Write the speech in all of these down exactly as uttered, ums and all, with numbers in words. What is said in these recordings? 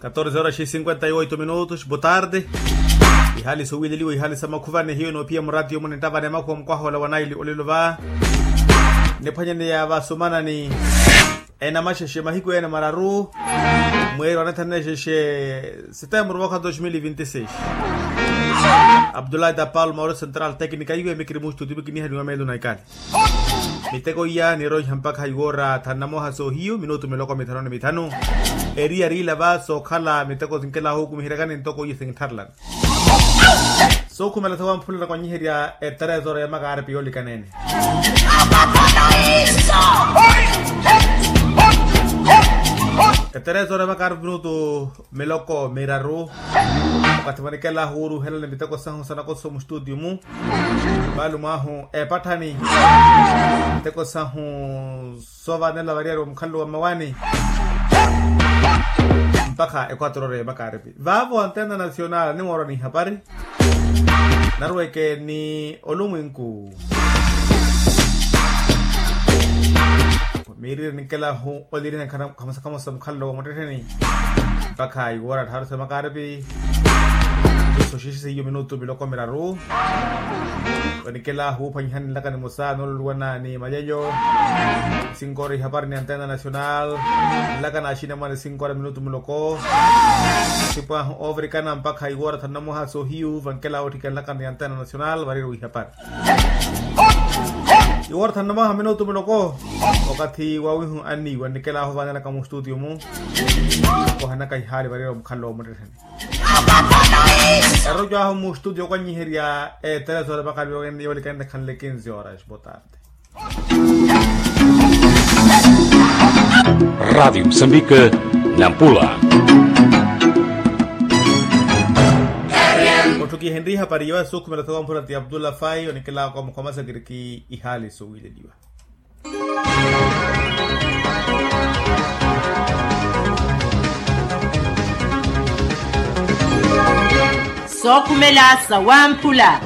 Katorze horas e cinquenta e oito minutos botarde. Ihali sowileliwa ihali sa makhuvani hiyo enoophiya muraatiyo muni ntavani emakhuwa mukwaha ola wa naili olelo va niphwanyaneya vasumanani. Enamaxexe mahiku ene mararu mweeri wa nethana nexexe setembro mwaka dos mil vinti seis. Abdullah tapal mauro central teknika iwe mikiri mustuti mikinihaniwa meelo na ikali. Miteko iya niroiha mpakha iwoora thanu na moha soohiyu minutu miloko mithanu ni mithanu. Eri yariila va sookhala miteko sinkelahu okumiheryakani ntoko iya sintharelani. Sookhumela thawa mphulela kwanyiherya eterezo ya makaaripi yoolikaneene. Eterezo ya makaaripi minutu miloko miraru. Wakathi vanikela huuruhelani miteko sahu sanakoso mustutiyo mu. Vaalumo ahu epatthani miteko sahu soovaanela variyari wa mukhalelo wa mmawani. Mpakha equatorore ya makaaripi vaavo antena nacional nimoorwa ni ihapari. Narweke ni olumwinku. Miirire ninkelahu oliriha nkhamosa khamosa mukhalelo wa muttettheni. Mpakha iwoora tthaaru sa makaaripi. Iso xixi seiyo minutu miloko miraru. Vanikela huuphwanyihani nlaka nimosa nooluluwana ni malyeyo. Sinkoora ihapari ni antena nacional. Nlaka na axinamwani sinkoora minutu muloko. Sipwahu ovirikana mpakha iwoora thanu na moha soohiyu vankela wotthika nlaka ni antena nacional variro ihapari. Iwoora thanu na moha minutu muloko. Wakathi wawihu anniiwa nnikela ahu vaanelaka mustutiyo mu. Kohanaka ihaali variro mukhalelo wa muttettheni. Eroco ahu mustutiyo kwanyiherya eterezo ya makaaripi yoolikanene khanle kinzi horas botarde. Rádio Moçambique, Nampula. Otthukihenrye ihapari yoya sookhumela thawa mphula ti abdullah fai onikelaka mukhomasakiriki ihaali sowileliwa. Sookhumela sa wamphula.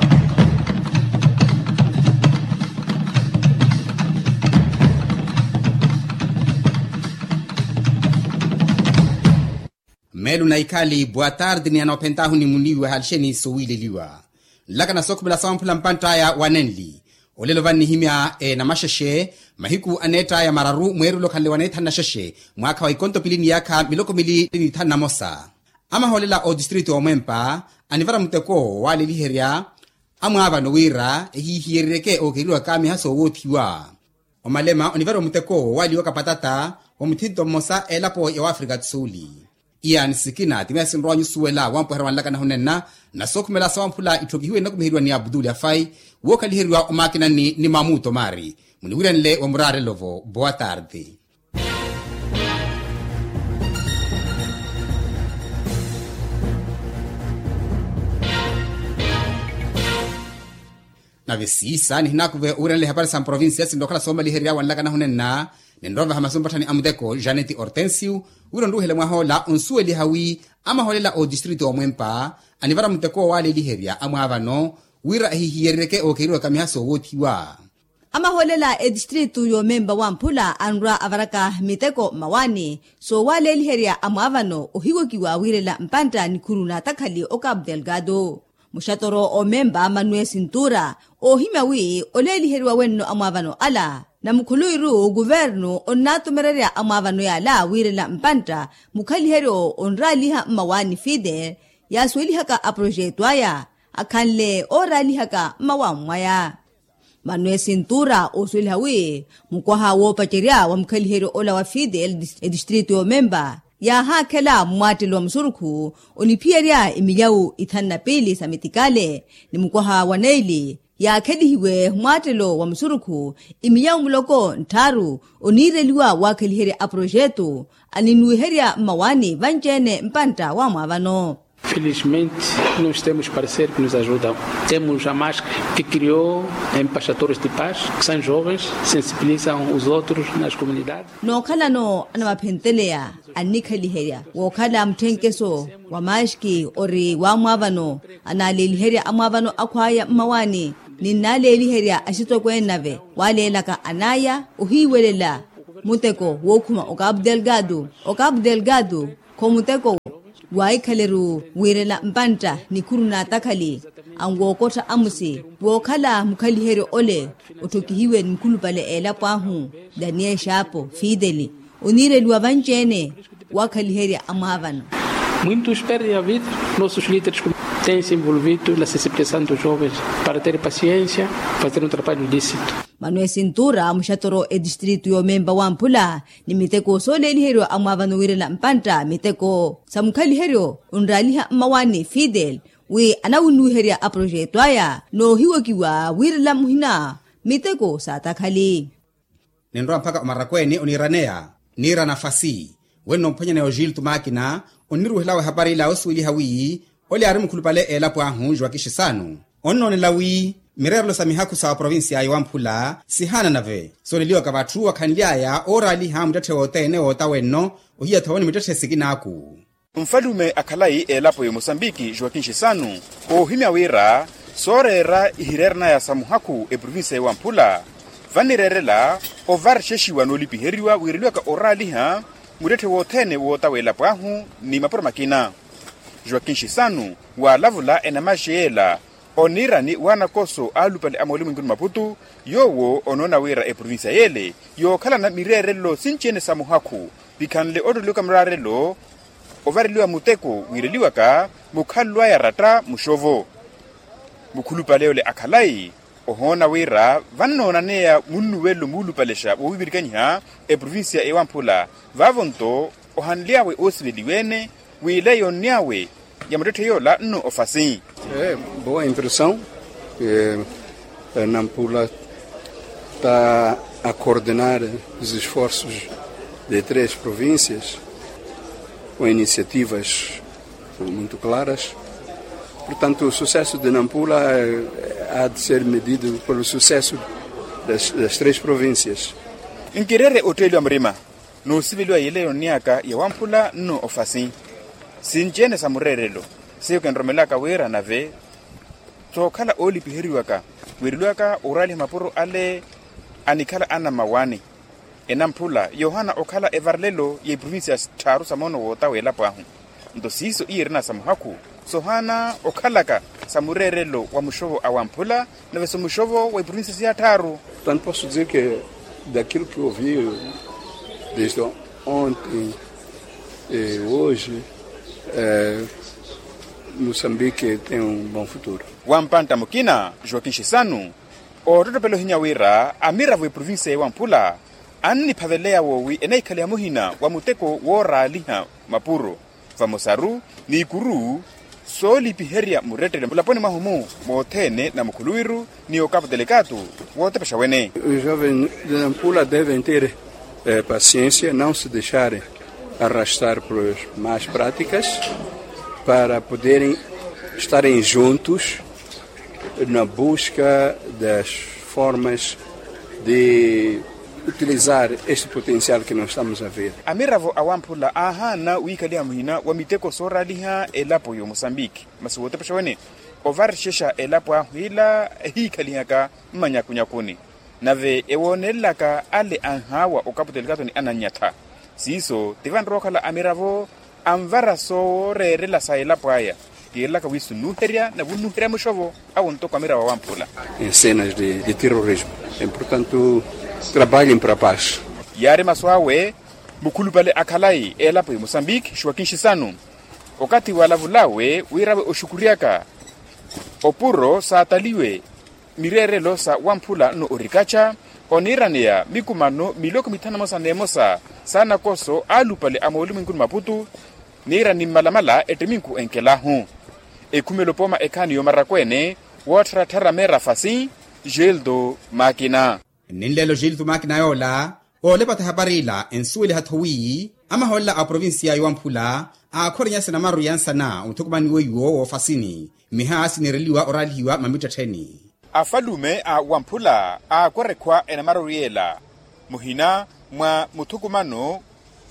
Meelu na ikhali boa tarde ni anoophentahu ni muniiwa halixeni sowiileliwa. Nlaka na sookhumela sa wamphula mpantt'aya wa nenli. Olelo vannihimya enamaxexe mahiku aneett'aya mararu mweerule okhanle wa neethanu na xexe mwaakha wa ikonto pili ni yaakha miloko mili ni thanu na mosa. Amahoolela otistritu omwempa anivara muteko waaleliherya amwaavano wira ehihiyereryeke ookeriwaka miha soowoothiwa. Omalema onivariwa muteko waaliwaka patata wa muthinto mmosa elapo ya wafrika tsuli. Iyani sikina ti meya sinrowa nyusuwela wampuherya wa nlaka nahunenna. Na sookhumela sa wamphula itthokihiwe nnakumiheriwa ni abduli afai wookhaliheriwa omaakinani ni mamuto mari muniwiranle wa murarelovo boa tarde. Nave siisa nihinakuve owiranela ihapari sa mprovincia sinrookhala soomaliherya wa nlaka nahunenna. Ninrovaha masu mpatthani a muteko janeti hortensio wira onruwehela mwahoola onsuweliha wi amahoolela otistritu omwempa anivara muteko waaleliherya amwaavano wira ehihiyereryeke ookeriwaka miha soowoothiwa. Amahoolela etistritu yoomempa wamphula anrwa avaraka miteko mmawaani soowaaleliherya amwaavano ohiwokiwa wiirela mpantta nikhuru n'atakhali o cabo delgado. Muxatoro omempa manuel sintura oohimya wi oleeliheriwa wenno amwaavano ala na mukhuluwiru kuvernu onnaatumererya amwaavano yaala wiirela mpantta mukhaliheryo onraaliha mmawaani fide yaasuwelihaka aprojetu aya akhanle ooraalihaka mmawaani mwaya. Manuel sintura oosuweliha wi mukwaha woopacerya wa mukhaliheryo ola wa fidel etistritu yoomempa yaahaakhela mmwaattelo wa musurukhu oniphiyerya emilyawu ithanu na piili sa mitikale ni mukwaha wa neili yaakhelihiwe mmwaattelo wa musurukhu emilyawu muloko ntthaaru oniireliwa waakheliherya aprojetu aninuwiherya mmawaani vanci-ene mpantta wa mwaavano. Felizmente nós temos parceiros que nos ajudam. Temos a mask que criou em pastadores de paz que são jovens, sensibilizam os outros nas comunidades. Nookhalano anamaphenteleya annikhaliherya wookhala mutthenkeso wa maski ori wamwaavano anaaleeliherya amwaavano akhwaya mmawaani ninnaaleeliherya axitokweene nave waaleelaka anaya ohiiwelela muteko wookhuma o cabo delgado o cabo delgado kho muteko Waahikhaleru wiirela mpantta nikhuru n'atakhali anwookottha amusi wookhala mukhaliheryo ole otthokihiwe ni mukhulupale a elapo ahu daniel xaapo fideli oniireliwa vanci-ene waakhaliherya amwaavano. Muintus perde a vida. Nossus lideres tense envolvido na sensibilizasaw dos jovens para ter pasiensia, fazer un trabalho lisitu. Manuel sintura muxatoro etistritu yoomempa wamphula ni miteko sooleeliheriwa amwaavano wiirela mpantta miteko sa mukhaliheryo onraaliha mmawani fidel wi anawunnuwiherya aprojeto aya noohiwokiwa wiirela muhina miteko saatakhali. Ninrowa mpakha omarakweene oniiraneya niira nafasi wenno omphwanyaneya ojiltu maakina onniruwihelawe ehapari ila osuweliha wi ole aari mukhulupale a elapo ahu joakin xisanu onnoonela wi mireerelo sa mihakhu sa oprovincia ya wamphula sihaana nave sooleliwaka vatthu akhanly'aya ooraaliha muttetthe wothene wootawenno ohiya-tho ni muttetthe sikinaaku. Nfalume a khalayi a elapo ya mosambiki joakin xisanu oohimya wira sooreera ihireeranaya sa muhakhu eprovincia ya wamphula vannireerela ovarixexiwa noolipiheriwa wiireliwaka oraaliha muttetthe wothene wootawa elapo ahu ni mapuro makina. Joakin xisanu waalavula enamaxi yeela oniirani wanakoso aalupale a moolimunkuni maputu yoowo onoona wira eprovincia yeele yookhalana mireerelo sinci-ene sa muhakhu pikhanle ottoleluka muraarelo ovareliwa muteko wiireliwaka mukhalelo aya ratta muxovo. Mukhulupale ole a khalayi ohoona wira vannoonaneya munnuwelo muulupalexa woowivirikanyiha eprovincia ewamphula vaavo-nto ohanly'awe oosiveliwa-ene w'ile yoonny'awe ya muttetthe yoola nno ofasi. Boa impressão nampula ta a coordenar os esforços de três províncias com iniciativas muito claras. Portanto o sucesso de nampula há de ser medido pelo sucesso das três províncias. Nkireere otteeliwa murima noosiveliwa yile yoonny'aka ya wamphula nno ofasi sinci-ene sa mureerelo seiyo kinromelaka wira nave sookhala oolipiheriwaka wiireliwaka oraaliha mapuro ale anikhala anamawani enamphula yoohana okhala evarelelo ya iprovincia tthaaru sa moono wootawa elapo ahu. Nto siiso iye erina sa muhakhu sohaana okhalaka sa mureerelo wa muxovo a wamphula nave so muxovo wa iprovincia siya tthaaru. Tanto posso dizer que daquilo que ouvi desde ontem e hoje moçambique tem um bom futuro. Wampantta mukina joakin xisanu oottottopela ohinya wira amiravo eprovincia ya wamphula anniphaveleya woowi enahikhaliha muhina wa muteko wooraaliha mapuro vamosaru n'ikuru soolipiherya murettele mulaponi mwahu-mu moothene na mukhuluwiru ni okapu telekaatu wootepexa wene. Os jovens de nampula devem ter paciência não se deixarem arrastar por más práticas para poderem estarem juntos na busca das formas de utilizar este potencial que nós estamos a ver. Amiravo a wamphula aahaana wiikhaliha muhina wa miteko sooraaliha elapo ya omosambiki masi wootepexa wene ovarixexa elapo ahu ila ehiikhalihaka mmanyakunyakuni nave ewoonelelaka ale anhaawa okapu telekato ni anannyatha siiso ti vanrowa okhala amiravo anvara sooreerela sa elapo aya. Kiirelaka wi sunnuherya na vunnuherya muxovo awo ntoko amiravo a wamphula. Em cenas de terrorismo em portanto trabalhem para a paz. Yaari masu awe mukhulupale a khalayi elapo ya mosambiki joakin xisanu okathi walavulawe wirawe oxukuryaka opuro saataliwe mireerelo sa wamphula nno orikaxa oniiraneya mikumano miloko mithanu emosa n'emosa sa nakoso aalupale a moolimunkuni maputu niira ni mmalamala ettiminku enkelahu ekhumela opooma ekhaani y'omarakweene woottharattharama erafasi. Gildo makina. Nninleelo gildo makina yoola oolepata ehapari ila ensuweliha-tho wi amahoolela a oprovincia ya wamphula aakhorenya sinamaru ya nsana omuthukumani weiwo woofasini miha siniireliwa oraalihiwa mamittettheni. Afalume a wamphula aakora ekhwa enamaru yeela muhina mwa muthukumano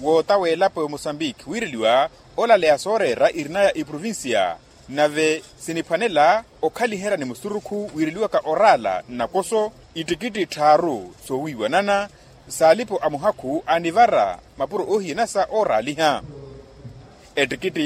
wootawa elapo ya omosambiki wiireliwa olaleya sooreera irinaya iprovincia nave siniphwanela okhaliherya ni musurukhu wiireliwaka oraala nnakoso ittikitti tthaaru soowiiwanana saalipo a muhakhu anivara mapuro oohiyanasa ooraaliha ettikitti